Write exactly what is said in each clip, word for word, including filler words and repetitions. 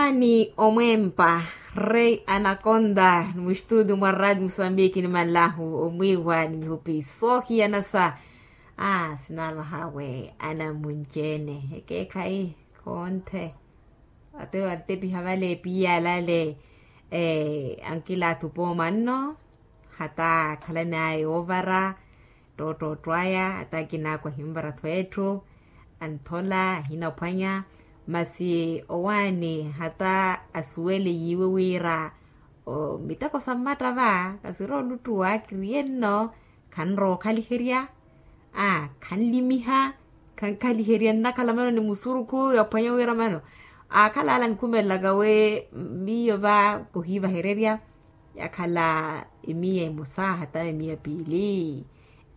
Ni omwempa rei anakonda ni mustudio mwa radio musambiki ni malahu omwiiwa ni mihupi soohiyanasa. Aa sinamahawe anamunci-ene ekeekhayi khoonthe. Ate antepiha vale piyalale ankilaathu pooma nno. Hata akhalan'aya yoovara ttoottootto aya hata akinaakwa ahinvara-tho etthu. Anthola ahinaphwanya masi owaani hata asuwele yiiwe wira miteko sa mmatta va kasiri oluttuwa kiriye nno. Khanrowa okhaliherya aa khanlimiha. Khankhaliherya nnakhala mano ni musurukhu yaphwanya wira mano aakhala ala anikhumelelaka wi miyo va kohiivahererya. Yakhala emiya emosa hata emiya piili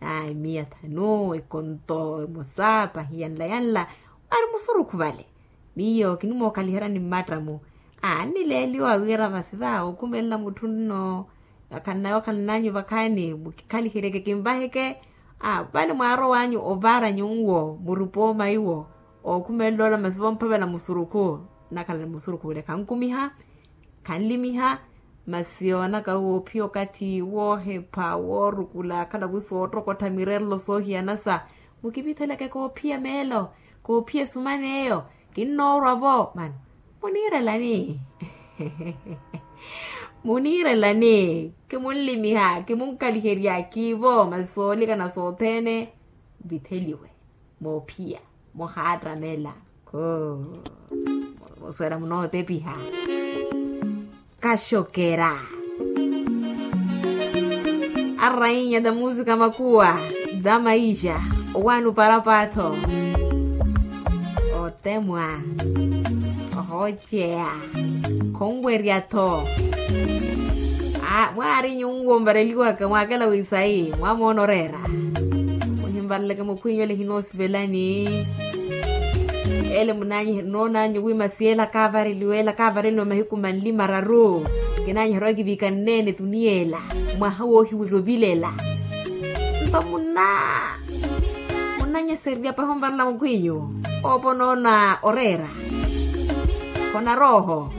aa emiya thanu ekonto emosa pahi yanla yanla. Ari musurukhu vale miyo kinimookhaliheryani mmatta-mu. Aa nnileeliwa wira masi va okhumelela mutthu nno. Akhannayo akhananyu vakhaani mukikhaliheryeke kinvaheke. Aa vale mwaarow'anyu ovaar'anyu nwo muri pooma iwo. Okhumelela ola masi vomphavela musurukhu nnakhala ni musurukhu wile khankumiha. Khanlimiha masi yoonaka woophiya okathi woohepha woorukula akhala wi soottokottha mirerelo soohiyanasa. Mukivitheleke koophiya meelo koophiya esuman'eyo. Kinnoorwa-vo mano muniirelani? Muniirelani kimunlimiha kimunkhaliherya kiivo masi soolikana sothene. Vitheliwe moophiya muhaattamela. Koo musuwela munootepiha. Kaxokera arrainya da musika makuwa da maixa. Owaani oparapaatho otemwa ohooceya khonwerya-tho. Mwaari nyuwo mvareliwaka mwaakela wisayi mwamoona oreera. Muhimvareleke mukhwinyu ele hinoosivelani. Ele munanyihe noonanyu wi masi ela kaavareliwa ela kaavareliwa mahiku manli mararu. Kinanyiherya wakiviika nneene tuniya ela mwaha woohiwerya ovilela. Nto munna munnanyesererya pahi onvarela mukhwinyu. Oopa onoona oreera khonarooho.